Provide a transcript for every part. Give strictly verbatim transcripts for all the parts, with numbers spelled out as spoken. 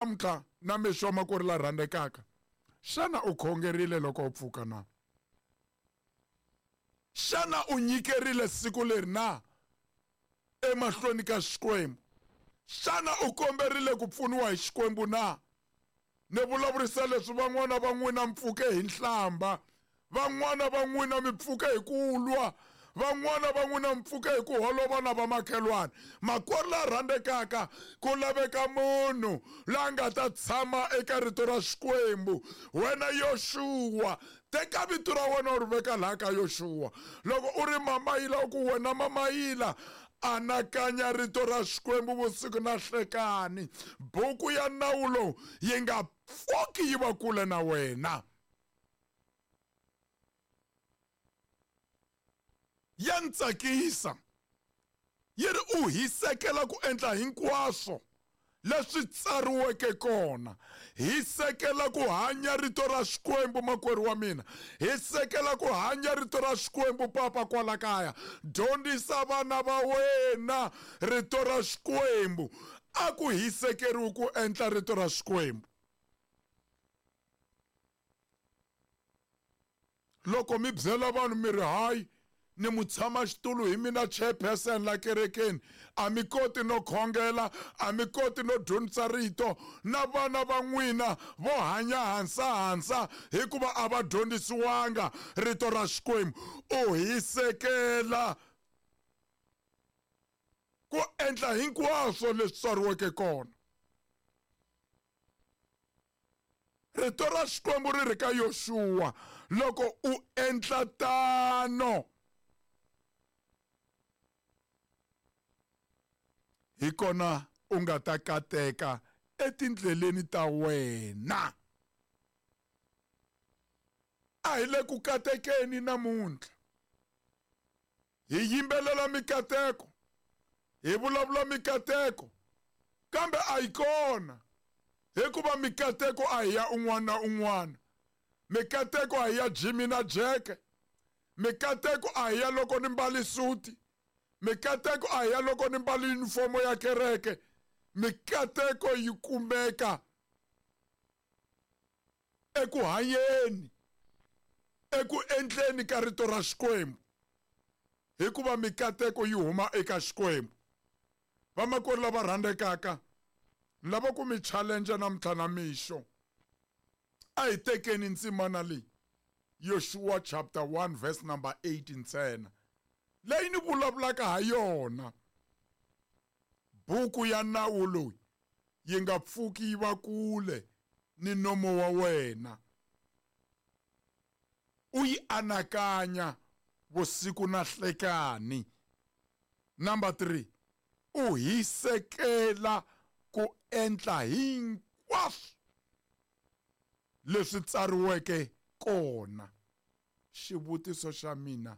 Namuntlha na mixo makwerhu la rhandzekaka, xana u khongerile loko u pfuka na? Xana u nyikerile siku leri na emahlweni ka Xikwembu? Xana u komberile ku pfuniwa hi Xikwembu na? Ni vulavurisa leswi van'wana va n'wina mi pfuke hi nhlamba, van'wana va n'wina mi pfuke hi ku lwa, van'wana va n'wina mi pfuke hi ku holova na vamakhelwani. Makwerhu la rhandzekaka, ku laveka munhu la nga ta tshama eka rito ra Xikwembu. Wena Yoxuwa, teka vito ra wena u ri veka laha ka Yoxuwa. Loko u ri Mamayila, u ku wena Mamayila, anakanya rito ra Xikwembu vusiku na nhlekani. Buku ya nawu lowu yi nga pfuki yi va kule na wena. Ya ni tsakisa. Yi ri u hisekela ku endla hinkwaswo leswi tsariweke kona. Hisekela ku hanya rito ra Xikwembu, makwerhu wa mina. Hisekela ku hanya rito ra Xikwembu, papa kwala kaya. Dyondzisa vana va wena rito ra Xikwembu. A ku hisekeriwi ku endla rito ra Xikwembu. Loko mi byela vanhu mi ri hayi, ni mutshama xitulu hi mina chairperson la kerekeni, a mi koti no khongela, a mi koti no dyondzisa rito, na vana va n'wina vo hanya hansa hansa hikuva a va dyondzisiwanga rito ra Xikwembu. U hisekela ku endla hinkwaswo leswi tsariweke kona. Rito ra Xikwembu ri ri ka Yoxuwa, loko u endla tano, hi kona u nga ta kateka etindleleni ta wena. A hi le ku katekeni namuntlha. Hi yimbelela mikateko, hi vulavula mikateko, kambe a yi kona, hikuva mikateko a hi ya un'wana na un'wana. Mikateko a hi ya Jimmy na Jack. Mikateko a hi ya loko ni mbali suti. Mikateko a hi ya loko ni mbali yunifomo ya kereke. Mikateko yi kumeka eku hanyeni, eku endleni ka rito ra Xikwembu, hikuva mikateko yi huma eka Xikwembu. Vamakwerhu lava rhandzekaka, ni lava ku mi challenge namuntlha na mixo. A hi tekeni ndzimana leyi, Yoshua chapter one verse number eight ntsena, leyi ni vulavulaka ha yona. Buku ya nawu loyi yi nga pfuki yi va kule ni nomo wa wena. U yi anakanya vusiku na nhlekani. Number three, u hisekela ku endla hinkwaswo leswi tsariweke kona. Xivutiso xa mina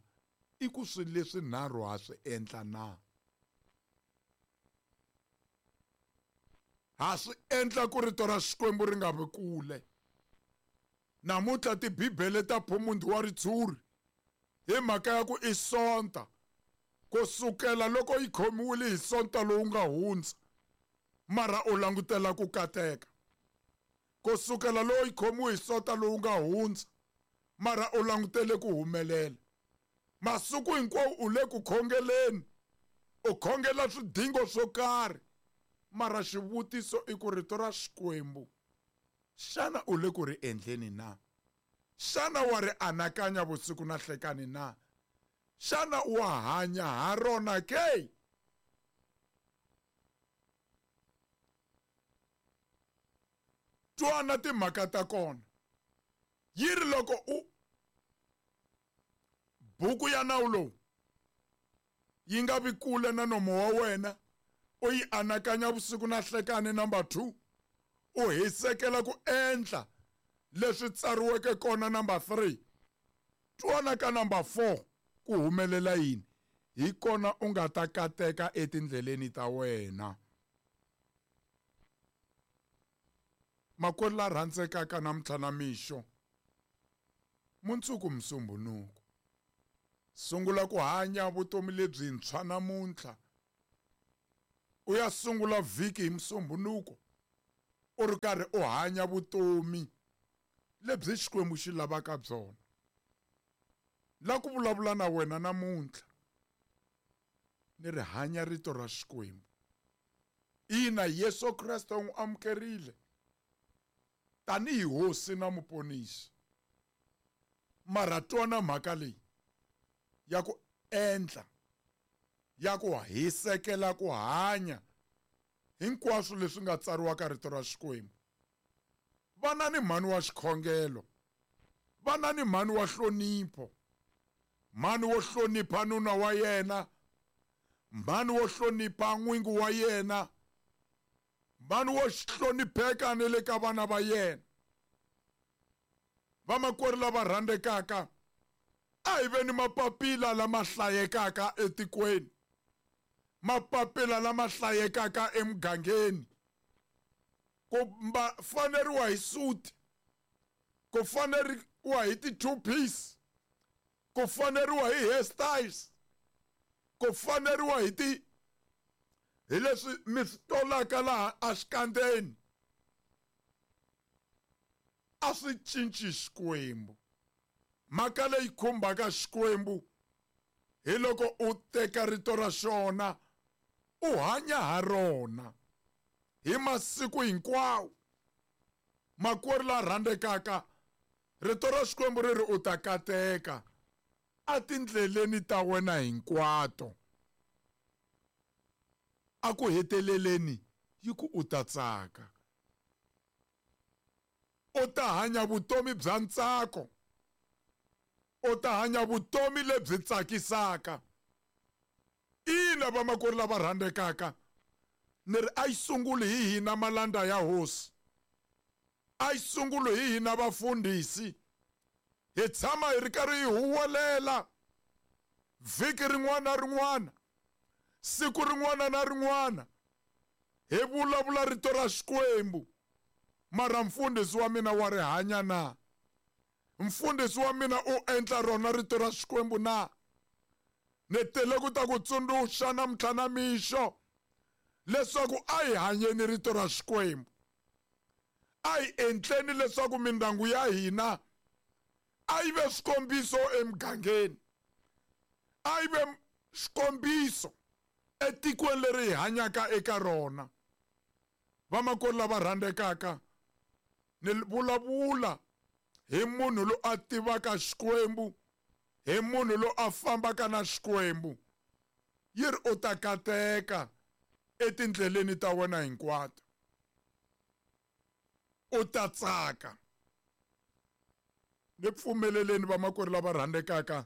i ku swilo leswi nharhu ha swi endla na? Ha swi endla ku rito ra Xikwembu ri nga vi kule. Namuntlha tibibele ta phumundi wa ritshuri hi mhaka ya ku i Sonta, ku sukela loko yi khomiwile hi Sonta lowu nga hundza, mara u langutela ku kateka. Ku sukela loko yi khomiwe hi Sonta lowu nga hundza, mara u langutele ku humelela. Masiku hinkwawo u le ku khongeleni, u khongela swidingo swo karhi, mara xivutiso i ku rito ra Xikwembu, xana u le ku ri endleni na? Xana wa ri anakanya vusiku na nhlekani na? Xana wa hanya ha rona ke? Twana timhaka ta kona. Yi ri loko u buku ya nawu lowu yi nga vi kule na nomo wa wena, u yi anakanya vusiku na nhlekani. Number two, u hisekela ku endla leswi tsariweke kona. Number three, twana ka number four, ku humelela yini? Hi kona u nga ta kateka etindleleni ta wena. Makwerhu la rhandzekaka namuntlha na mixo, mundzuku Musumbhunuku, sungula ku hanya vutomi lebyintshwa namuntlha. U ya sungula vhiki hi Musumbhunuku, u ri karhi u hanya vutomi lebyi Xikwembu xi lavaka byona. La ku vulavula na wena namuntlha ni ri hanya rito ra Xikwembu. Ina, Yesu Kreste u n'wi amukerile tanihi hosi na muponisi, mara twana mhaka leyi ya ku endla, ya ku hisekela ku hanya hinkwaswo leswi nga tsariwa ka rito ra Xikwembu. Vana ni mhani wa xikhongelo, vana ni mhani wa hlonipho, mhani wo hlonipha nuna wa yena, mhani wo hlonipha n'wingi wa yena, mhani wo hlonipheka ni le ka vana va yena. Vamakwerhu lava rhandzekaka, a hi ve ni mapapila lama hlayekaka etikweni, mapapila lama hlayekaka emugangeni. Ku faneriwa hi suit, ku faneriwa hi ti-two piece, ku faneriwa hi hairstyles, ku faneriwa hi ti hi leswi mi swi tolaka laha exikandzeni, a swi cinci Xikwembu. Mhaka leyi khumbaka Xikwembu hi loko u teka rito ra xona u hanya ha rona hi masiku hinkwawo. Makwerhu la rhandzekaka, rito ra Xikwembu ri ri u ta kateka atindleleni ta wena hinkwato, a ku heteleleni yi ku u ta tsaka, u ta hanya vutomi bya ntsako, u ta hanya vutomi lebyi tsakisaka. Ina, vamakwerhu lava rhandzekaka, ni ri a yi sunguli hi hina malanda ya hosi, a yi sunguli hi hina vafundhisi. Hi tshama hi ri karhi hi huwelela vhiki rin'wana na rin'wana, siku rin'wana na rin'wana, hi vulavula rito ra Xikwembu. Mara mfundhisi wa mina wa ri hanya na? Mfundhisi wa mina u endla rona rito ra Xikwembu na? Ni tele ku ta ku tsundzuxa namuntlha na mixo leswaku a hi hanyeni rito ra Xikwembu, a hi endleni leswaku mindyangu ya hina a yi ve swikombiso emugangeni, a yi ve xikombiso etikweni leri hi hanyaka eka rona. Vamakwerhu lava rhandzekaka, ni vulavula hi munhu loyi a tivaka Xikwembu, hi munhu loyi a fambaka na Xikwembu. Yi ri u ta kateka etindleleni ta wena hinkwato, u ta tsaka. Ni pfumeleleni vamakwerhu lava rhandzekaka,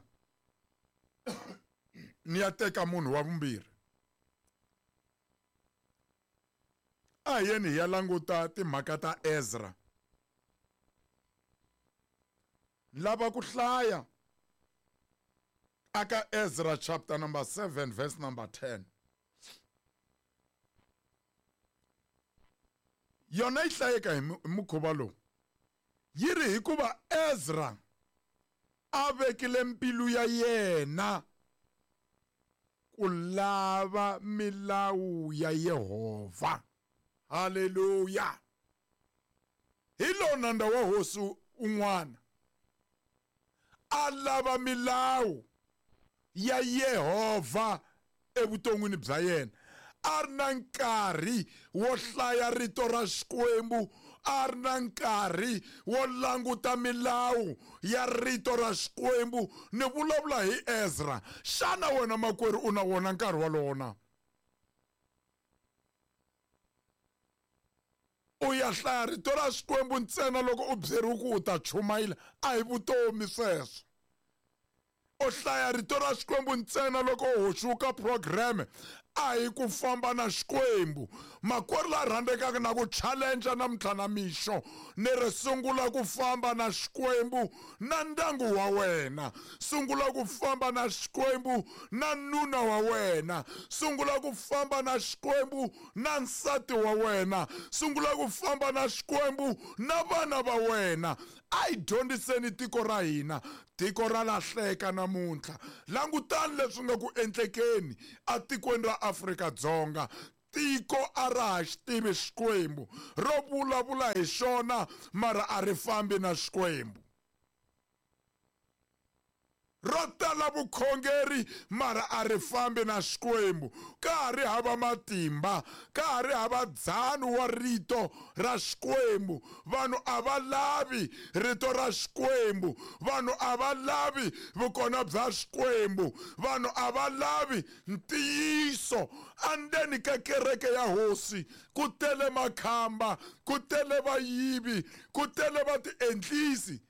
ni ya teka munhu wa vumbirhi. A hi yeni hi ya languta timhaka ta Ezra. Lava ku hlaya aka Ezra chapter number seven verse number ten. Yona yi hlayeka hi mukhuva lowu. Yi ri hikuva Ezra a vekile mbilu ya yena ku lava milawu ya Yehovha. Haleluya. Hi lo nandza wa hosi un'wana a lava milawu ya Yehovha evuton'wini bya yena. A ri na nkarhi wo hlaya rito ra Xikwembu, a ri na nkarhi wo languta milawu ya rito ra Xikwembu. Ni vulavula hi Ezra. Xana wena makwerhu u na wona nkarhi wolowo na? U ya hlaya rito ra Xikwembu ntsena loko u byeriwe ku u ta chumayela, a hi vutomi sweswo. U hlaya rito ra Xikwembu ntsena loko u hoxiwa program, a hi ku famba na Xikwembu. Makwerhu la rhandzekaka, na ku challenge namuntlha na mixo, ni ri sungula ku famba na Xikwembu na ndyangu wa wena, sungula ku famba na Xikwembu na nuna wa wena, sungula ku famba na Xikwembu na nsati wa wena, sungula ku famba na Xikwembu na vana va wena. A hi dyondziseni tiko ra hina. Tiko ra lahleka namuntlha. Langutani leswi nga ku endlekeni atikweni ra Afrika-Dzonga. Tiko a ra ha xi tivi Xikwembu, ro vulavula hi xona mara a ri fambi na Xikwembu. Ro tala vukhongeri mara a ri fambi na Xikwembu. Ka ha ri hava matimba, ka ha ri hava dzano wa rito ra Xikwembu. Vanhu a va lavi rito ra Xikwembu, vanhu a va lavi vukona bya Xikwembu, vanhu a va lavi ntiyiso. Andzeni ka kereke ya Hosi ku tele makhamba, ku tele vayivi, ku tele vatiendlisi,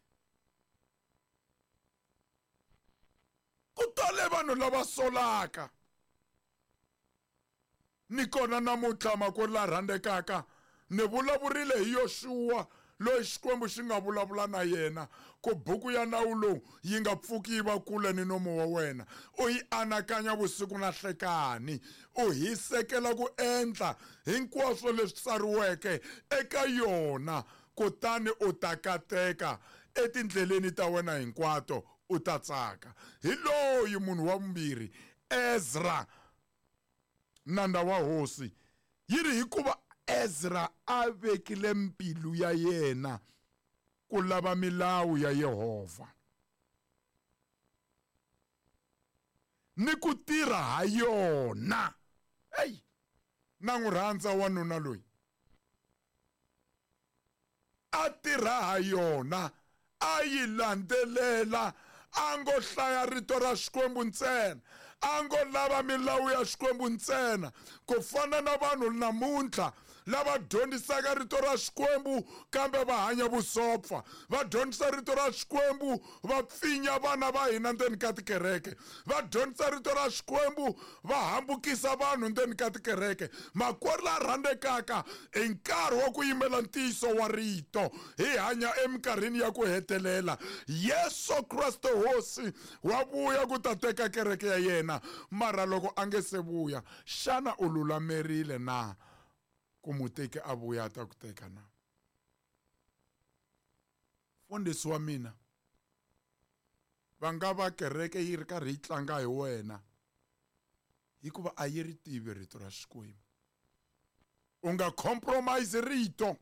ku tele vanhu lava solaka. Ni kona namuntlha makwerhu la rhandzekaka, ni vulavurile hi Yoxuwa loyi Xikwembu xi nga vulavula na yena ku buku ya nawu lowu yi nga pfuki yi va kule ni nomu wa wena, u yi anakanya vusiku na hlekani, u hisekela ku endla hinkwaswo leswi tsariweke eka yona, kutani u ta kateka etindleleni ta wena hinkwato, u ta tsaka. Hi loyi munhu wa vumbirhi, Ezra, nandza wa Hosi. Yi ri hikuva Ezra a vekile mbilu ya yena ku lava milawu ya Yehovha ni ku tirha ha yona. Ey, na n'wi rhandza wanuna loyi, a tirha ha yona, a yi landzelela, a ngo hlaya rito ra Xikwembu ntsena, a ngo lava milawu ya Xikwembu ntsena. Ku fana na vanhu namuntlha lava dyondzisaka rito ra Xikwembu kambe va hanya vusopfa, va dyondzisa rito ra Xikwembu va pfinya vana va hina ndzeni ka tikereke, va dyondzisa rito ra Xikwembu va hambukisa vanhu ndzeni ka tikereke. Makwerhu la rhandzekaka, i nkarhi wa ku yimela ntiyiso wa rito. Hi hanya eminkarhini ya ku hetelela. Yesu Kreste Hosi wa vuya ku ta teka kereke ya yena, mara loko a nge se vuya, xana u lulamerile na ku muteki a vuya a ta ku teka na? Mfundhisi wa mina, va nga va kereke yi ri karhi yi tlanga hi wena hikuva a yi ri tivi rito ra Xikwembu. U nga compromise rito,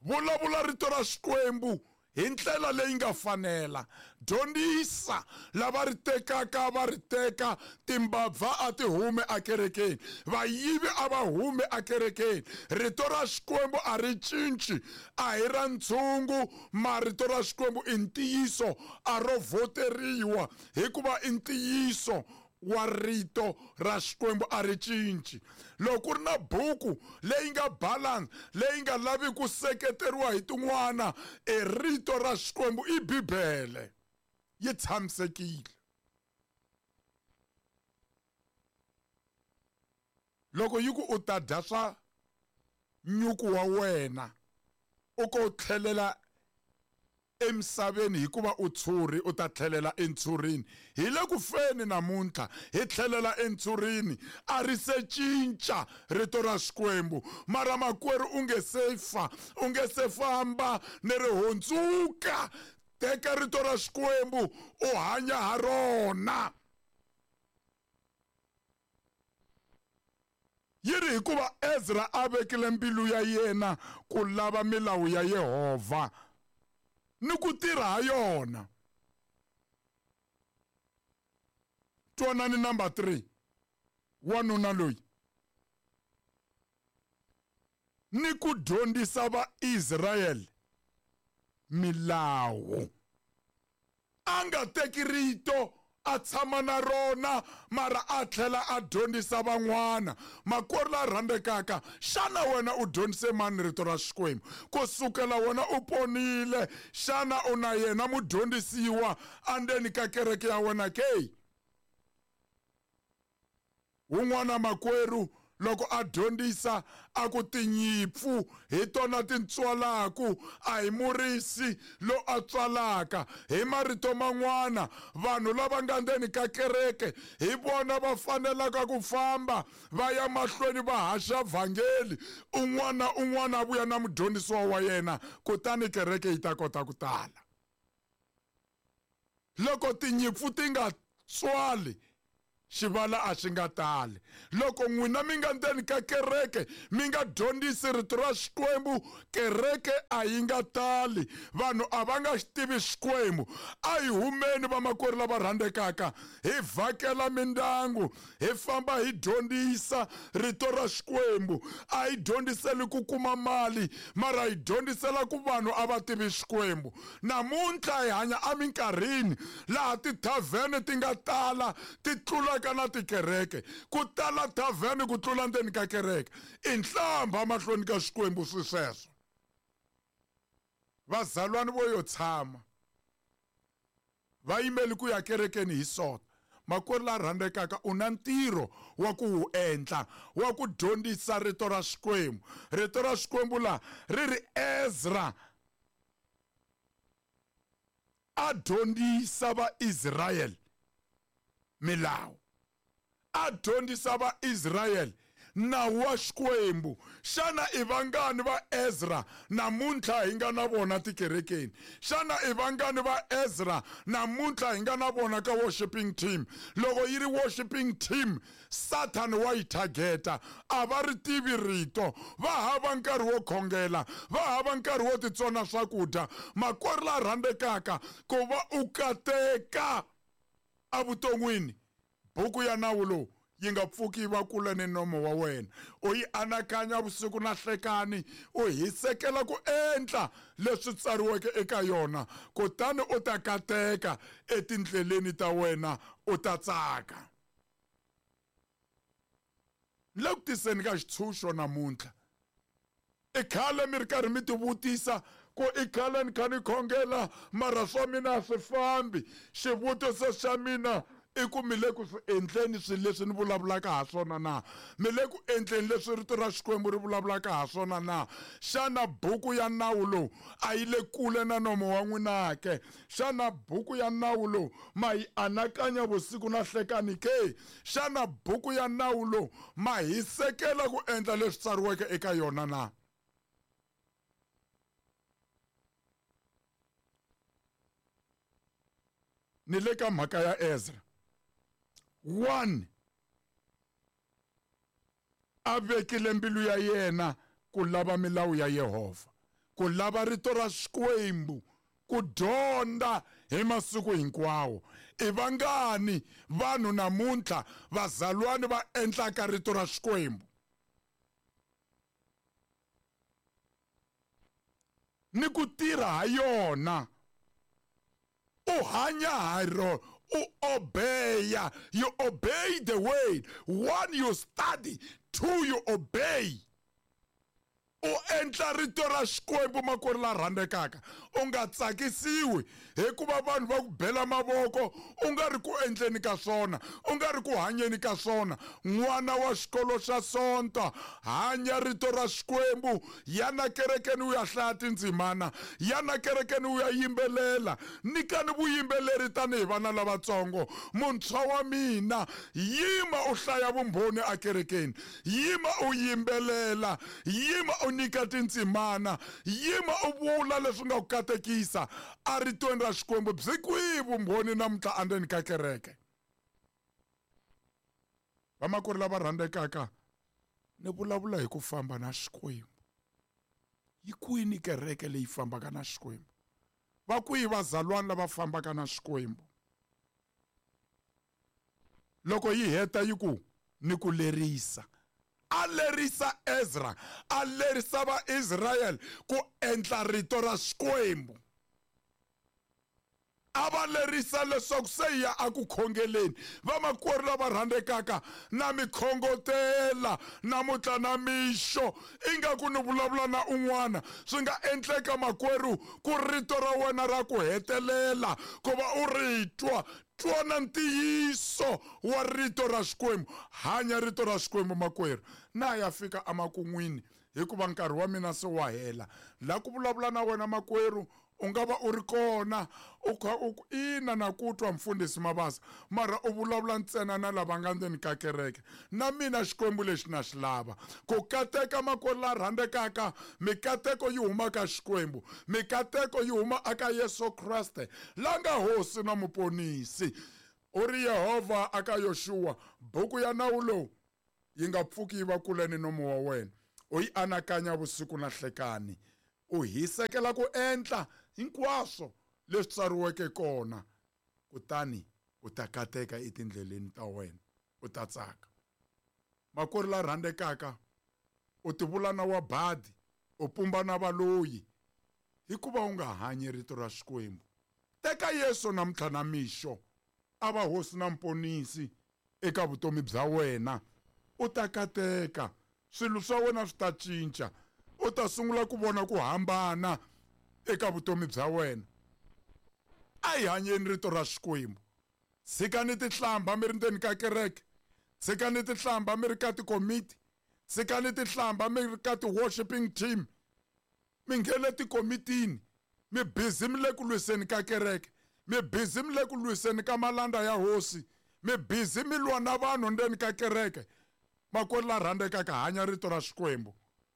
vulavula rito ra Xikwembu hi ndlela leyi nga fanela. Dyondzisa lava ri tekaka va ri teka, timbabva a ti hume akerekeni, vayivi a va hume akerekeni. Rito ra Xikwembu a ri cinci, a hi ra ntshungu, marito ra Xikwembu i ntiyiso, a ro voteriwa hikuva i ntiyiso wa rito ra Xikwembu, a ri cinci. Loko ku ri na buku leyi nga balance, leyi nga lavi ku seketeriwa hi tin'wana, i rito ra Xikwembu, i Bibele, yi tshamisekile. Loko yi ku u ta dya swa nyuku wa wena, u ko tlhelela emisaveni hikuva u tshuri, u ta tlhelela entshurini. Hi le ku feni namuntlha, hi tlhelela entshurini. A ri se cinca rito ra Xikwembu, mara makwerhu u nge se fa, u nge se famba ni ri hundzuka. Teka rito ra Xikwembu u hanya ha rona. Yi ri hikuva Ezra a vekile mbilu ya yena ku lava milawu ya Yehovha ni ku tirha ha yona. Twanani number three, wanuna loyi, ni ku dyondzisa Vaisrayele milawu. A nga teki rito a tshama na rona, mara a tlhela a dyondzisa van'wana. Makwerhu la rhandzekaka, xana wena u dyondzise mani rito ra Xikwembu? Ku sukela wena u ponile, xana u na yena mudyondzisiwa andzeni ka kereke ya wena ke? Wun'wana makwerhu loko a dyondzisa a ku tinyimpfu hi tona ti tswalaku, a hi murisi lo a tswalaka. Hi marito man'wana, vanhu lava nga ndzeni ka kereke hi vona va fanelaka ku famba va ya mahlweni va haxa vhangeli, un'wana un'wana a vuya na mudyondzisiwa wa yena, kutani kereke yi ta kota ku tala. Loko tinyimpfu ti nga tswali, Xivala a xi nga tali. Loko n'wina mi nga ndzeni ka kereke mi nga dyondzisi rito ra Xikwembu, kereke a yi nga tali, vanhu a va nga xi tivi Xikwembu. A hi humeni vamakwerhu lava rhandzekaka, hi vhakela mindyangu, hi famba hi dyondzisa rito ra Xikwembu. A hi dyondziseli ku kuma mali, mara hi dyondzisela ku vanhu a va tivi Xikwembu. Namuntlha hi hanya eminkarhini laha tithavhene ti nga tala ti tlula ka na tikereke, ku tala thavhene ku tlula ndzeni ka kereke. I nhlamba mahlweni ka Xikwembu swi sweswo. Vazalwani vo yo tshama va yimeli ku ya kerekeni hi Sonto. Makwerhu la rhandzekaka, u na ntirho wa ku wu endla, wa ku dyondzisa rito ra Xikwembu. Rito ra Xikwembu la ri ri Ezra a dyondzisa Vaisrayele milawu, a dyondzisa Vaisrayele nawu wa Xikwembu. Xana i vangani va Ezra namuntlha hi nga na vona tikerekeni? Xana i vangani va Ezra namuntlha hi nga na vona ka worshiping team? Loko yi ri worshiping team, Satan wa yi targeta. A va ri tivi rito, va hava nkarhi wo khongela, va hava nkarhi wo titsona swakudya. Makwerhu la rhandzekaka, ku va u kateka evuton'wini, buku ya nawu lowu yi nga pfuki yi va kule ni nomo wa wena. U yi anakanya vusiku na hlekani, u hisekela ku endla leswi tsariweke eka yona, kutani u ta kateka etindleleni ta wena, u ta tsaka. Ni le ku tiseni ka xitshunxo namuntlha. I khale mi ri karhi mi tivutisa ku i khale ni kha ni khongela mara swa mina a swi fambi. Xivutiso xa mina i ku mi le ku swi endleni swilo leswi ni vulavulaka ha swona na? Mi le ku endleni leswi rito ra Xikwembu ri vulavulaka ha swona na? Xana buku ya nawu lowu a yi le kule na nomo wa n'wina ke? Xana buku ya nawu lowu ma yi anakanya vusiku na hlekani ke? Xana buku ya nawu lowu ma hisekela ku endla leswi tsariweke eka yona na? Ni le ka mhaka ya Ezra. One, a vekile mbilu ya yena ku lava milawu ya Yehovha, ku lava rito ra Xikwembu, ku dyondza hi masiku hinkwawo. I vangani vanhu namuntlha vazalwani va endlaka rito ra Xikwembu? Ni ku tirha ha yona, u hanya ha rona, u obeya. You obey the word. One, you study. Two, you obey. U endla rito ra Xikwembu, makwerhu la rhandzekaka. U nga tsakisiwi hikuva vanhu va ku bela mavoko, u nga ri ku endleni ka swona, u nga ri ku hanyeni ka swona. N'wana wa xikolo xa Sonto, hanya rito ra Xikwembu. Yana kerekeni u ya hlaya tindzimana, yana kerekeni u ya yimbelela. Nyikani vuyimbeleri tanihi vana lavatsongo. Muntshwa wa mina, yima u hlaya vumbhoni ekerekeni, yima u yimbelela, yima u nyika tindzimana, yima u vula leswi nga ku katekisa eritweni ra Xikwembu. Byi kwihi vumbhoni namuntlha endzeni ka kereke? Vamakwerhu lava rhandzekaka, ni vulavula hi ku famba na Xikwembu. Yi kwini kereke leyi fambaka na Xikwembu? Va kwihi vazalwana lava fambaka na Xikwembu? Loko yi heta yi ku ni ku lerisa, a lerisa Ezra, a lerisa Vaisrayele ku endla rito ra Xikwembu. A va lerisa leswaku se hi ya eku khongeleni. Vamakwerhu lava rhandzekaka, na mi khongotela namuntlha na mixo, ingaku ni vulavula na un'wana. Swi nga endleka makwerhu ku rito ra wena ra ku hetelela ku va u ri twa. Twana ntiyiso wa rito ra Xikwembu, hanya rito ra Xikwembu makwerhu. Na ya fika emakun'wini hikuva nkarhi wa mina se wa hela. La ku vulavula na wena makwerhu, u nga va u ri kona u kha u ku ina na ku twa mfundhisi Mabasa, mara u vulavula ntsena na lava nga ndzeni ka kereke. Na mina Xikwembu lexi na xi lava. Ku kateka makwerhu la rhandzekaka, mikateko yi huma ka Xikwembu, mikateko yi huma eka Yesu Kreste la nga Hosi na Muponisi. U ri Yehovha aka Yoshua, buku ya nawu lowu yi nga pfuki yi va kule ni nomu wa wena, u yi anakanya vusiku na nhlekani, u hisekela ku endla hinkwaswo leswi tsariweke kona, kutani u ta kateka etindleleni ta wena, u ta tsaka. Makwerhu la rhandzekaka, u tivula na wa badi, u pumba na valoyi, hikuva u nga hanyi rito ra Xikwembu. Teka Yesu namuntlha na mixo, a va hosi na mponisi eka vutomi bya wena, u ta kateka, swilo swa wena swi ta cinca, u ta sungula ku vona ku hambana eka vutomi bya wena. A hi hanyeni rito ra Xikwembu. Tshikani tihlamba mi ri ndzeni ka kereke, tshikani tihlamba mi ri ka tikomiti, tshikani tihlamba mi ri ka ti-worshiping team, mi nghene tikomitini, mi busy mi le ku lwiseni ka kereke, mi busy mi le ku lwiseni ka malanda ya hosi, mi busy mi lwa na vanhu ndzeni ka kereke. Makwerhu la rhandzekaka, hanya rito ra Xikwembu.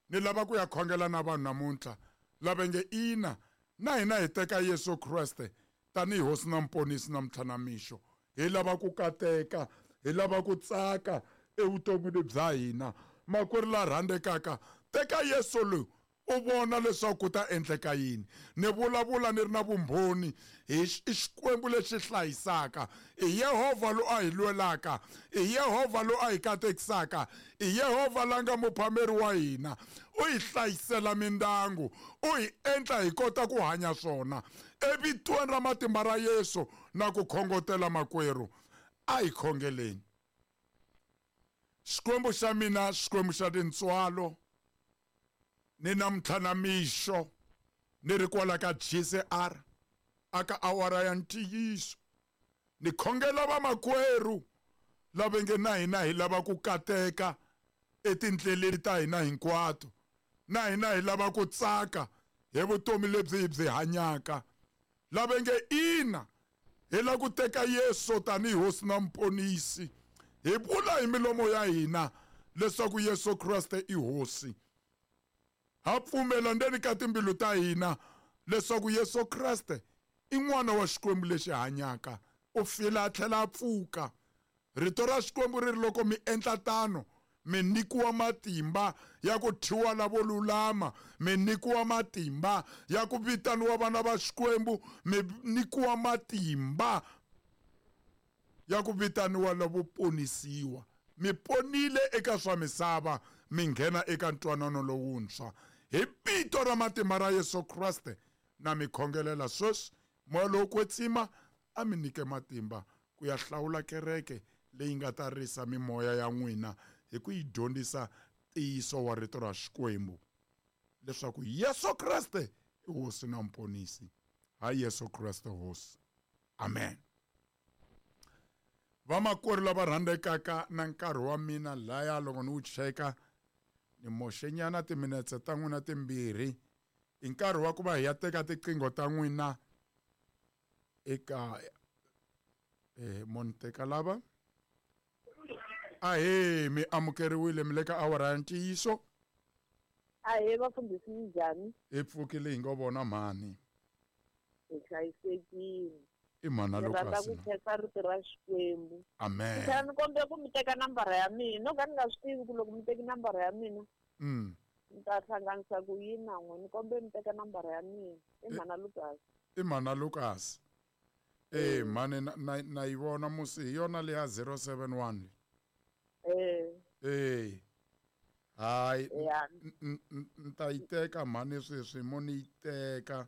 Ni lava ku ya khongela na vanhu namuntlha lava nge ina, na hina hi teka Yesu Kreste tanihi hosi na mponisi namuntlha na mixo. Hi lava ku kateka, hi lava ku tsaka evuton'wini bya hina. Makwerhu la rhandzekaka, teka Yesu loyi, u vona leswaku ku ta endleka yini. Ni vulavula ni ri na vumbhoni hi i Xikwembu lexi hlayisaka, i Yehovha loyi a hi lwelaka, i Yehovha loyi a hi katekisaka, i Yehovha la nga muphameri wa hina. U hi hlayisela mindyangu, u hi endla hi kota ku hanya swona. Evitweni ra matimba ra Yesu na ku khongotela makwerhu, a hi khongeleni. Xikwembu xa mina, Xikwembu xa tintswalo, ni namuntlha na mixo ni ri kwala ka G C R aka awara ya ntiyiso, ni khongela vamakwerhu lava nge na hina hi lava ku kateka etindleleni ta hina hinkwato, na hina hi lava ku tsaka hi vutomi lebyi hi byi hanyaka, lava nge ina hi lava ku teka Yesu tanihi hosi na mponisi, hi vula hi milomo ya hina leswaku Yesu Kreste i hosi. Ha pfumela ndzeni ka timbilu ta hina leswaku Yesu Kreste i n'wana wa Xikwembu lexi hanyaka, u file a tlhela a pfuka. Rito ra Xikwembu ri ri loko mi endla tano, mi nyikiwa matimba ya ku thyiwa lavo lulama, mi nyikiwa matimba ya ku vitaniwa vana va Xikwembu, mi nyikiwa matimba ya ku vitaniwa lavo ponisiwa. Mi ponile eka swa misava, mi nghena eka ntwanano lowuntshwa. Hi vito ra matimba ra Yesu Kreste na mi khongelela sweswi, moya lowo kwetsima a mi nyike matimba ku ya hlawula kereke leyi nga ta risa mimoya ya n'wina hi ku yi dyondzisa ntiyiso wa rito ra Xikwembu, leswaku Yesu Kreste i hosi na mponisi. Ha Yesu Kreste hosi. Amen. Vamakwerhu lava rhandzekaka, na nkarhi wa mina laya loko ni wu cheka ni moxenyana timinetse ta n'wina timbirhi, i nkarhi wa ku va hi ya teka tiqingho ta n'wina eka eh mo ni teka lava. Ahee, mi amukeriwile, mi le ka awara ya ntiyiso. Ahee, vafundhisi, minjhani? Hi pfukile hi ngo vona mhani. Hi hlayisekile. I mhana Ni rhandza Lucas ku na. khensa rito ra Xikwembu. Amen. Ni tlhela ni kombela ku mi teka nambara ya mina, no ka ni nga swi tivi ku loko mi teki nambara ya mina, Mm. ni ta hlanganisa ku yini na n'we. Ni kombela mi teka nambara ya mina. I mhana Lucas. I mhana Lucas. Eh, mhani na, na, na yi vona musi hi yona leya zero seven one. Eh. Eh. Hayi, Ya. n-, n-, n-, ni ta yi teka mhani sweswi, mo ni yi teka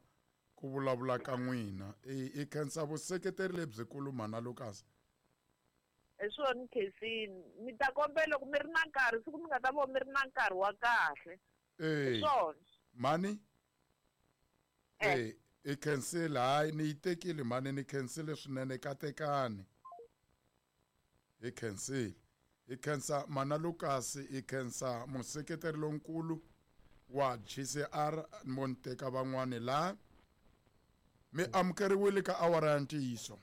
ku vulavula ka n'wina. I, i khensa vuseketeri lebyikulu mhana Lucas. Hi swona Khensini, mi ta kombela loko mi ri na nkarhi, siku mi nga ta vona mi ri na nkarhi wa kahle. Eh. Hi swona. Mhani? Eh. Eh, i khensile, hayi ni yi tekile mhani, ni khensile swinene, katekani. Hi khensile. Hi khensa mhana Lucas, hi khensa museketeri lonkulu wa G C R, mo ni teka van'wani la. Mi amukeriwile ka awara ya ntiyiso.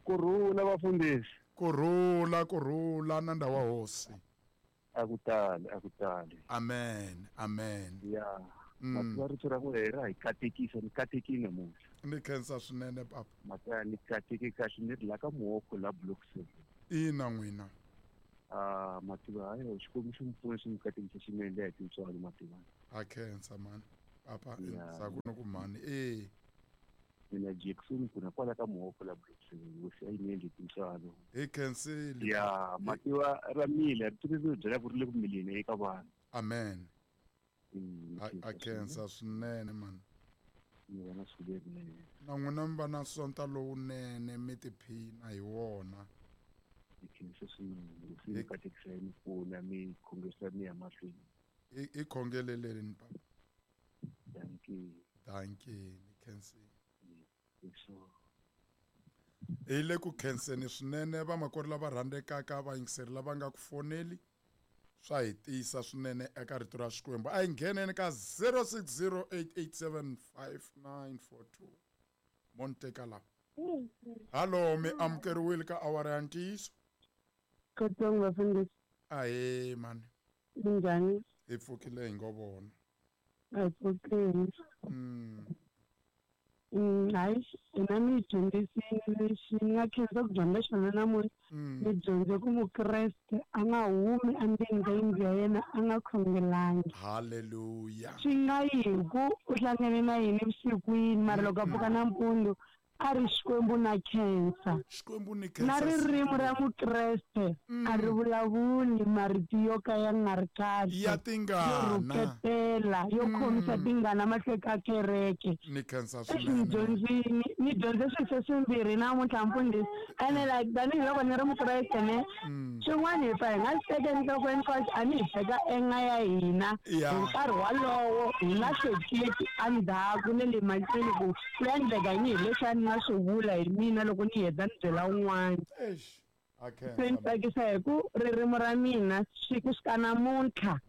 Kurhula vafundhisi. Kurhula, kurhula nanda wa hosi. A ku tali, a ku tali. Amen, amen. Ya. Mativa rito ra n'wina ra hi katekisa ni katekile namuntlha. Ni khensa swinene papa. Mata ni kateke kahle ni ri la ka Muoko la block seven. Ina n'wina. Ah mativa hayi Xikwembu xi mi pfuna xi mi katekisa swinene leya tintswalo mativa. A khensa mani. Papa saku no ku mani eh. Mina Jackson kuna kwala ka Muoko la block seven hosi a yi ni endli tintswalo. Hi khensile. Ya mativa ra mila rito leri byela ku ri le ku mileni eka vanhu. Amen. A khensa swinene mani. Ni vona siku lerinene. Na n'wina mi va na sonta lowunene mi tiphina hi wona. Hi khensa swinene hosi yi katekisa yi mi pfuna mi khongerisa mi ya mahlweni. Hi khongeleleni papa. Dankie. Dankie ni khensile. Hi le ku khenseni swinene vamakwerhu lava rhandzekaka vayingiseri lava nga ku foneli swa hi tiyisa swinene eka rito ra Xikwembu. A hi ngheneni ka zero six zero eight eight seven five nine four two. Monteka la. Hallo, mi amukeriwile ka awara ya ntiyiso. Kotsong vafundhisi. Ahee mani. Minjhani? Hi pfukile hi ngo vona. A hi pfukile. Mm. Hayi, hina mi dyondzisile lexi ni nga khensa ku dyondza xona namuntlha. Ni dyondze ku mukreste a nga humi endzeni ka yindlu ya yena a nga khongelangi. Hallelujah. Swi nga yi hi ku u hlangane na yini evusikwini mara loko a pfuka nampundzu a ri Xikwembu na khensa. Xikwembu ni khensa. Na ririmi ra mukreste a ri vulavuli marito yo ka ya nga ri kahle. Ya tingana. Yo rhuketela, yo khomisa tingana mahlweni ka kereke. Ni khensa Ni swinene. dyondzile ni dyondze swilo swimbirhi namuntlha mfundhisi. Ene like tanihiloko ni ri mukreste ne swin'wana hi pfa hi nga swi teki enhlokweni cause a ni hi teka enga ya hina hi nkarhi walowo hi nga hleketi endzhaku na le mahlweni ku ku endleka yini hi leswi a ni nga swi vula hi mina loko ni heta ni byela un'wana. Eish. A Se ni tsakisa hi ku ririmi ra mina siku sika namuntlha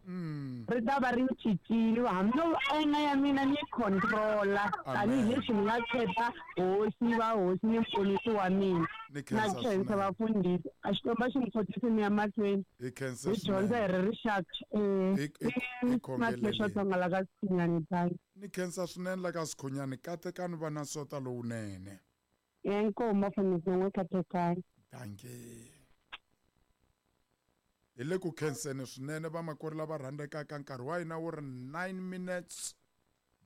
ri ta va ri cincile hambi enga ya mina ni yi controla tanihileswi ni nga khetha hosi va hosi ni muponisi wa mina. Ni Na khensa khensa swinene. vafundhisi a Xikwembu a xi mi kotisi mi ya mahlweni. Hi khensa Hi dyondza hi swinene. ri rixaka eh Hi hi Matlhelo khongeleleni. la ka Sikhunyani thank. Ni khensa swinene la ka Sikhunyani katekani va na sota lowunene. Inkomu vafundhisi na n'we katekani. Dankie. Hi le ku khenseni swinene vamakwerhu lava rhandzekaka nkarhi wa hina wu ri nine minutes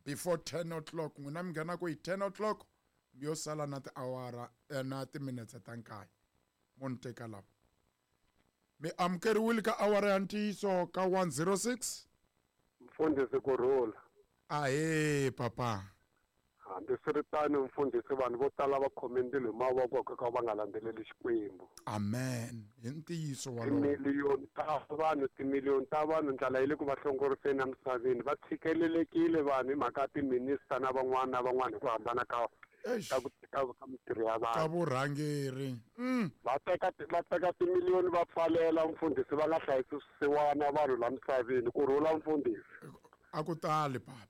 before ten o'clock. N'wina mi nghena ku hi ten o'clock mi yo sala na tiawara na timinetse ta nkaye. Mo ni teka lava. Mi amukeriwile ka awara ya ntiyiso ka one zero six. Mfundhisi kurhula. Ahee papa. Hambiswiritano mfundhisi vanhu vo tala va khome ndzilo hi mavoko ka va nga landzeleli Xikwembu. Amen. Hi ntiyiso walowo. Timiliyoni ta vanhu, timiliyoni ta vanhu ndlala yi le ku va hlongoriseni emisaveni. Va tshikelelekile vanhu hi mhaka ya timinista na van'wana na van'wana hi ku hambana ka ka ku ka ka mintirho ya vanhu. Ka vurhangeri. Mm. Va teka va teka timiliyoni va pfalela mfundhisi va nga hlayisi swisiwana vanhu la misaveni. Ku rhula mfundhisi. A ku tali papa.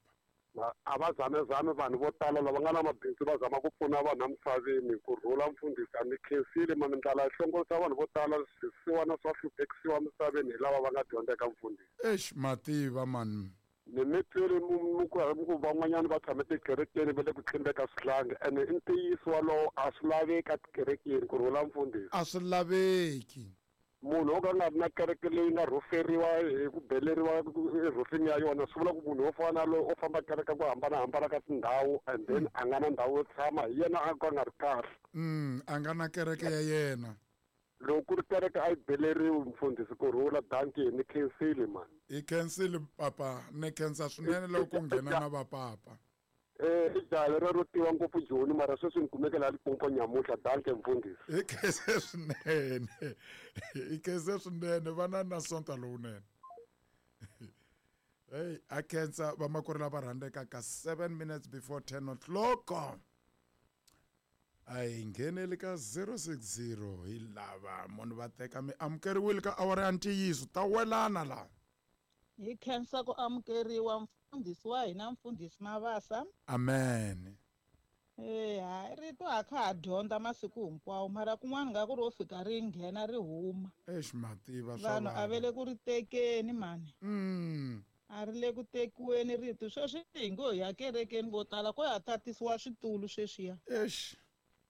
A va zamezame vanhu vo tala lava nga na mabindzu va zama ku pfuna vanhu emisaveni. Ku rhula mfundhisi a ni khensile mani ndlala yi hlongorisa vanhu vo tala swisiwana swa hluphekisiwa emisaveni hi lava va nga dyondzeka mfundhisi. Eish mativa mani. Ni mi twile mi ku van'wanyana va tshame tikerekeni va le ku tlimbeka swihlangi ene i ntiyiso walowo a swi laveki etikerekeni ku rhula mfundhisi. A swi laveki. Munhu wo ka nga ri na kereke leyi nga rhuferiwa hi ku beleriwa erhufini ya yona swi vula ku munhu wo fana na loyi o famba kereke ku hambanahambana ka tindhawu and then a nga na ndhawu yo tshama hi yena a ka nga ri kahle. Mm, a nga na kereke ya yena. Loko ku ri kereke a yi beleriwi mfundhisi ku rhula dankie ni khensile mani. Hi khensile papa ni khensa swinene loko ku nghena na vapapa. Eh i jaha lero ro tiva ngopfu Joni mara sweswi ni kumeke laha Limpopo nyamuntlha dankie mfundhisi. Hi khense swinene. Hi khense swinene vana na sonta lowunene. Hey, a khensa vamakwerhu lava rhandzekaka seven minutes before ten o'clock. A hi ngheneli ka zero six zero hi lava munhu va teka mi amukeriwile ka awara ya ntiyiso ta welana laha. Hi khensa ku amukeriwa mfundhisi wa hina mfundhisi Mabasa. Amen. Eh hayi rito a kha ha dyondza masiku hinkwawo mara kun'wana nga ku ro fika ri nghena ri huma. Eish mativa swa Vanhu a va le ku ri tekeni mani. Mm. A ri le ku tekiweni rito sweswi hi ngo hi ya kerekeni vo tala ko ya tatisiwa switulu sweswiya. Eish.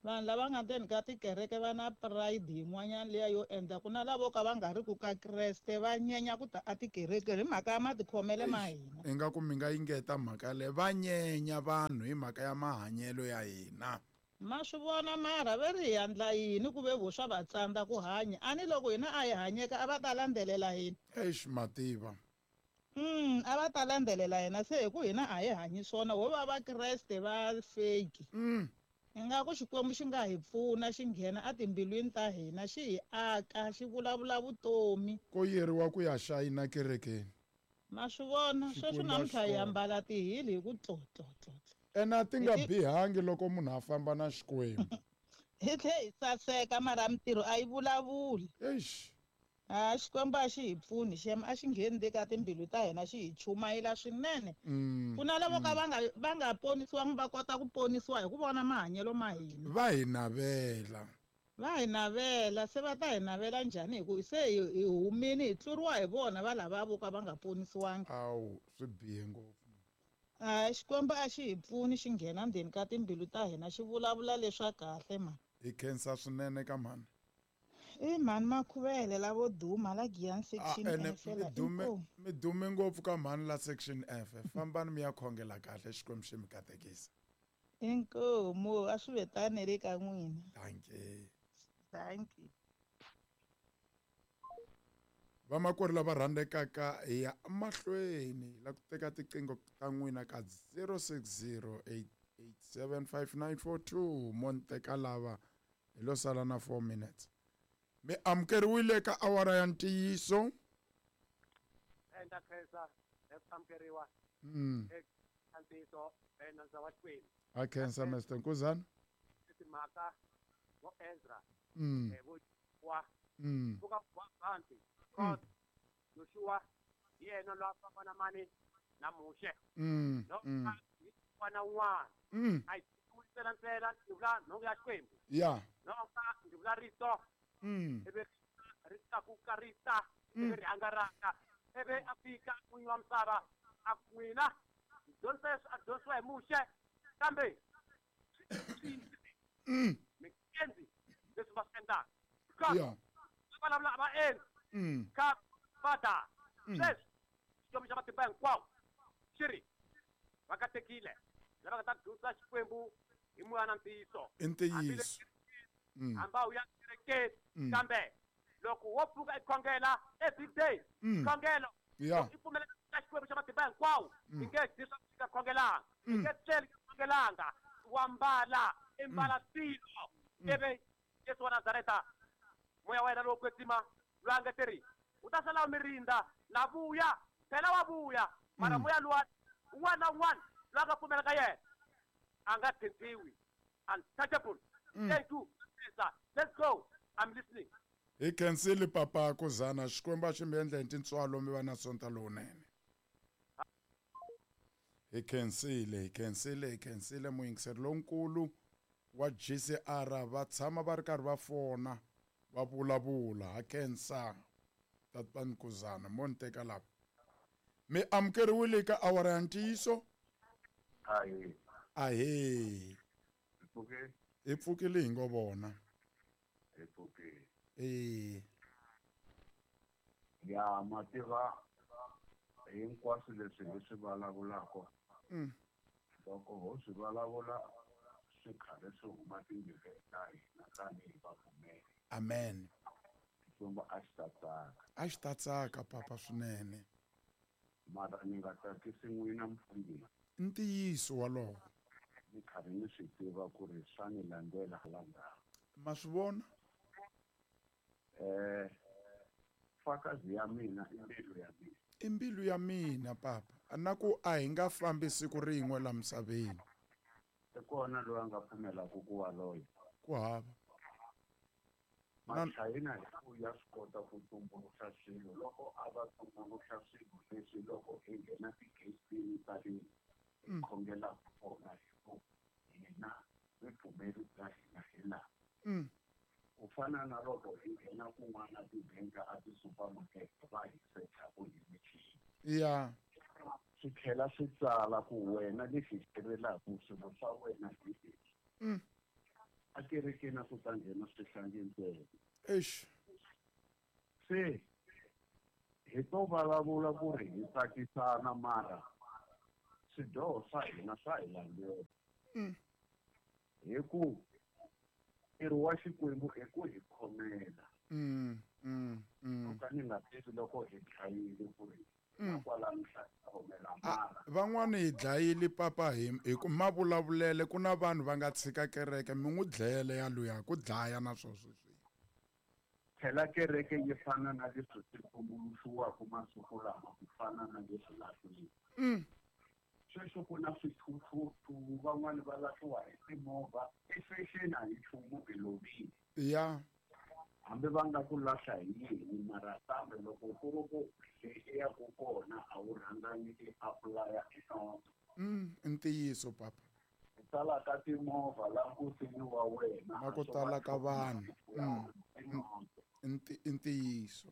Vanhu lava nga ndzeni ka tikereke va na pride yin'wanyana liya yo endla ku na lavo ka va nga ri ku ka Kreste va nyenya ku ta etikerekeni hi mhaka ya matikhomele ma hina. Ingaku mi nga yingeta mhaka leyi, va nyenya vanhu hi mhaka ya mahanyelo ya hina. Ma swi vona mara ve ri hi endla yini ku ve vo swa va tsandza ku hanya, a ni loko hina a hi hanyeka a va ta landzelela hina. Eish mativa. Mm, a va ta landzelela hina se hi ku hina a hi hanyi swona ho va va Kreste va fake. Mm. Ingaku Xikwembu xi nga hi pfuna xi nghena etimbilwini ta hina xi hi aka xi vulavula vutomi. Ko yeriwa ku ya xayina kerekeni. Ma swi vona sweswi namuntlha hi ambala tihili hi ku tlotlotlo. Ena ti nga bihangi loko munhu a famba na Xikwembu. Hi tlhe hi saseka mara mintirho a yi vulavuli. Eish. A Xikwembu a xi hi pfuni xem a xi ngheni le ka timbilu ta hina xi hi chumayela swinene. Ku na lavo ka va nga va nga ponisiwangi va kota ku ponisiwa hi ku vona mahanyelo ma hina. Va hi navela. Va hi navela se va ta hi navela njhani hi ku se hi humini hi tluriwa hi vona va lava vo ka va nga ponisiwangi. Awu swi bihe ngopfu. A Xikwembu a xi hi pfuni xi nghena ndzeni ka timbilu ta hina xi vulavula leswa kahle mani. Hi khensa swinene ka mhani. I mhani Makhuvele lavo duma la Giyani section F la. Mi dume ngopfu ka mhani la section F. Fambani mi ya khongela kahle Xikwembu xi mi katekisa. Inkomu a swi vetane le ka n'wina. Dankie. Dankie. Vamakwerhu lava rhandzekaka hi ya mahlweni la ku teka tiqingho ta n'wina ka zero six zero eight eight seven five nine four two mo ni teka lava hi lo sala na four minutes. Mi amukeriwile ka awara ya ntiyiso. Enda khensa amukeriwa. Mm. Eka ntiyiso nandza wa Xikwembu. A khensa Mister Nkuzana. Timhaka vo Ezra. Mm. Vo wa. Mm. Buka wa Bantu. God Joshua yena lwa famba na mani na Muxe. Mm. No Mm. wana un'wana. Mm. A yi ntsena ntsena ndzi vula nhonga ya Xikwembu. Yeah. Nhonga ndzi vula rito. Mm. Ivi ri tlakuka ri ta ivi ri hangalaka ivi a fika n'winyi wa misava a ku n'wina dyondzisa leswi a dyondzisiwa hi Muxe kambe Mm. mi endli leswi va swi endlaka. Because Yeah. va vulavula a va endli. Mm. Ka fada Mm. sweswi Xikwembu xa matimba hinkwawo xi ri va katekile lava nga ta dyondzisa Xikwembu hi moya na ntiyiso. I ntiyiso. Mm. Hambi a wu ya kerekeni Mm. kambe loko wo pfuka i khongela every day Mm. khongelo Yeah. i pfumela ka Xikwembu xa matimba hinkwawo Mm. i nge dyi swa ku nga khongelanga i Mm. nge tleli nga khongelanga wa mbala i mbala swilo Mm. ivi Yesu wa Nazareta moya wa yena lowo kwetsima loyi a nge teri u ta sala u mi rindza la vuya phela wa vuya mara Mm. moya luwa un'wana na un'wana loyi a nga pfumela ka yena a nga thintiwi untouchable. Mm. Thank you. Let's go. I'm listening. Hi khensile papa Kuzana Xikwembu a xi mi endla hi tintswalo mi va na sonta lowunene. Hi khensile, hi khensile, hi khensile muyingiseri lonkulu wa G C R va tshama va ri karhi va fona va vulavula ha khensa tatani Kuzana mo ni teka lava. Mi amukeriwile ka awara ya ntiyiso. Ahee. Ahee. Hi pfuke? Hi pfukile hi ngo vona. Hi pfukile. Eh. Ya mativa hinkwaswo leswi hi swi vulavulaka. Mm. Loko ho swi vulavula swi karhi swi huma timbilwini ta hina tanihi vapfumeri. Amen. Xikwembu a xi ta tsaka. A xi ta tsaka papa swinene. Mara ni nga tsakisi n'wina mfundhisi. Ntiyiso walowo. Ni karhi ni swi tiva ku ri swa ni landzela hala ndzhaku. Ma swi vona? Eh, fakazi ya mina i mbilu ya mina. I mbilu ya mina papa. Na ku a hi nga fambi siku rin'we la misaveni. I kona loyi a nga pfumelaka ku wa loya. Ku hava. Machayina hi ku ya swi kota ku tumbuluxa swilo loko a va tumbuluxa swilo leswi loko hi nghena tigeyitini ta le hi khongelaka kona hi ku hina ripfumeri bya hina hi laha. Mm. Ku fana na loko hi nghena kun'wana tibenka a ti-supermarket va hi secha ku hi michini. Yeah. Swi tlhela swi tsala ku wena lexi tirhelaka swilo swa wena hi leswi. Mm. A kerekeni a ku ta nghena swihlangi ntsena. Eish. Se hi to vulavula ku ri hi tsakisana mara swidyoho swa hina swa hi landzela. Mm. Hi ku ntirho wa Xikwembu i ku hi khomela. Mm, mm, mm. Ka ni nga tivi loko hi dlayile ku ri Mm. kwalano swa hi khomela Ah, mara. van'wani hi dlayile papa hi hi ku mavulavulele ku na vanhu va nga tshika kereke mi n'wi dlele ya luya ku dlaya na swo sweswi. Phela kereke yi fana na leswi swi tumbuluxiwaka masiku lama ku fana na leswi lahliweke. Mm. Sweswi ku na swithuthuthu van'wani va lahliwa hi timovha i fashion a hi nchumu hi lovile. Ya. Hambi va nga ku lahla hi yini mara kambe loko ku ri ku leyi i yaku kona a wu rhangangi i apply-a i noto. Mm, i ntiyiso papa. Ku tala ka timovha la nkosini wa wena Na ku tala ka vanhu. Mm. i noto. I ntiyiso.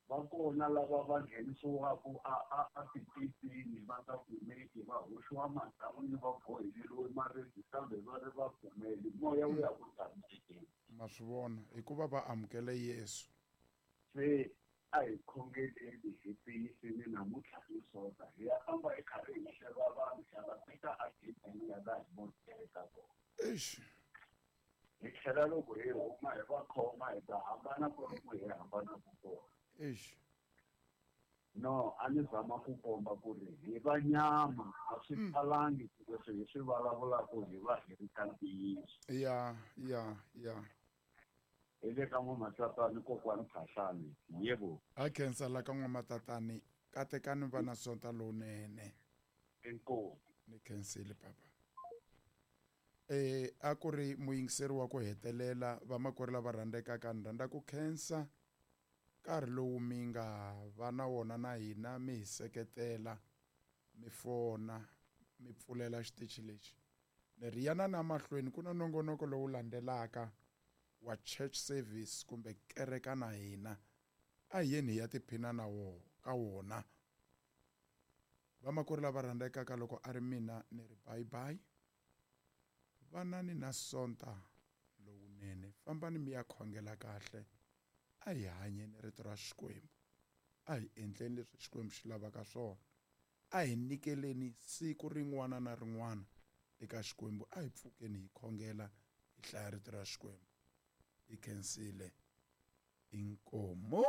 Va kona lava va nghenisiwaka a a a titipini va nga kumeki va hoxiwa madan'wini va boheleriwe maribye kambe va ri va pfumeli moya wu ya ku tshamisekeni. Ma swi vona hikuva va amukele Yesu. Se a hi khongeleni hi tiyiseni namuntlha hi sota hi ya famba hi karhi hi hleva vanhu hi ya va teka agedeni ya laha hi voneke kona. Eish. Hi tlhela loko hi huma hi va khoma hi ta hambana ku ri ku hi hambana ku kona. Eish. No, a ni zama ku komba ku ri hi va nyama a swi talangi leswi hi swi vulavulaka hi va hi ri ka ntiyiso. Ya, ya, ya. Hi le ka N'wamatatani kokwani Phahlane. Yebo. A khensa la ka N'wamatatani katekani va na sonta lowunene. Inkomu. Ni khensile papa. Eh a ku ri muyingiseri wa ku hetelela vamakwerhu lava rhandzekaka ni rhandza ku khensa nkarhi lowu mi nga va na wona na hina mi hi seketela mi fona mi pfulela xitichi lexi. Ni ri yana na mahlweni ku na nongonoko lowu landzelaka wa church service kumbe kereka na hina a hi yeni hi ya tiphina na wo ka wona. Vamakwerhu lava rhandzekaka loko a ri mina ni ri bye bye. Vanani na sonta lowunene fambani mi ya khongela kahle. A hi hanyeni rito ra Xikwembu. A hi endleni leswi Xikwembu xi lavaka swona. A hi nyikeleni siku rin'wana na rin'wana eka Xikwembu. A hi pfukeni hi khongela hi hlaya rito ra Xikwembu. Hi khensile. Inkomu.